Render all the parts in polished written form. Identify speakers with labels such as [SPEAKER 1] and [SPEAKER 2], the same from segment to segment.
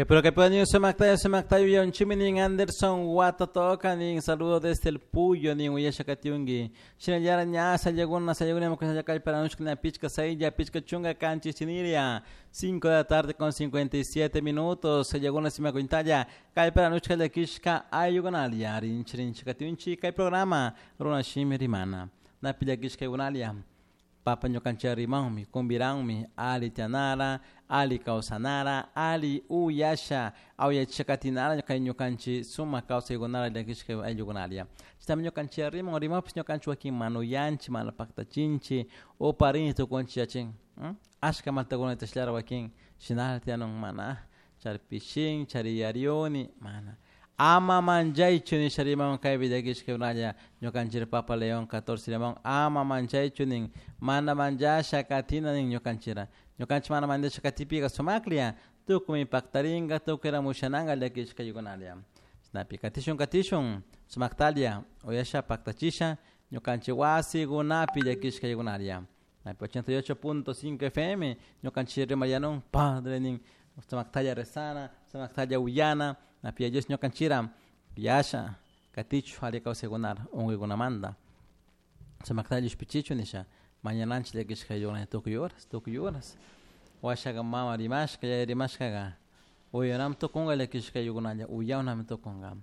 [SPEAKER 1] Que pero que pueden sumaktaya sumaktayo yonchimi nin Anderson Watatoka nin saludo desde el Puyo nin uyasha katiungi. Shinallara ña sayaguna sayaguna mukasayakay para nushkina pichka saylla pichka chunga kanchis chiniria. 5 de la tarde con 57 minutos. Sayaguna simakuintaya kay para nushka lakishka ayugunalia rinchi rinchi katiunchi kay programa runa shimi rimana. Napi llakishka ayugunalia. Papa ñukanchik rimanmi, kumbiranmi, ali tianara, ali kawsanara, ali uyasha, awyachisha katinara kay ñukanchik sumak kawsaykunara llakishka ayllukunaria. Chaytami ñukanchik riman, rimapish ñukanchik wakin mana uyanchik, mana paktachinchik, uparinchik tukunchik yachin. Ashka maltakuna tashllara wakin shinala tiyanun mana chari pishin, chari yariuni, mana. Ama manchaychu nisha riman kaypi llakishka ñukanchik Papa León 14 riman ama manchaychu nin mana manchasha katina nin ñukanchira. Ñukanchik mana manchasha katipika sumaklla tukuymi paktarinka tukuyra mushananka llakishka ayllikunalla. Chashnapi katishun katishun sumaktalla uyasha paktachisha ñukanchik wasikunapi llakishka ayllikunalla. Napi 88.5 FM ñukanchik rimayanun padre nin sumaktalla rezana, sumaktalla uyana, napi Dios ñukanchira yasha katichu ali kawsaykunara unkuykunamanta sumaktalla ishpichichu nisha mañananchik llakishka ayllukunata tukuy horas, tukuy horas. Washaka mama rimashka, yaya rimashkaka uyanami tukunka llakishka ayllukunalla, uyanami tukunka.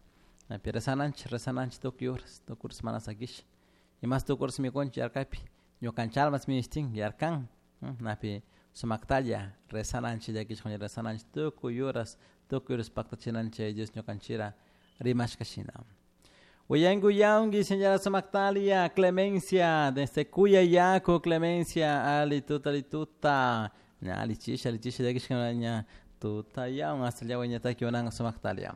[SPEAKER 1] Napi rezananchik, rezananchik tukuy horas, tukuy horas mana sakisha. Imas tukuy horas mikunchik yarkaypi ñukanchik almas ministin yarkan, napi sumaktalla rezananchik llakishka rezananchik tukuy horas, tukuy horas paktachinanchik Dios ñukanchira rimashka shina. Uyangi uyangi señora Sumaktalia, Clemencia, desde Cuyayaco, Clemencia, ali tuta, ali tuta, ña ali chisha, ali chisha, llakishka ña tuta yaun, hasta llawa ñataki unanga Sumaktalia.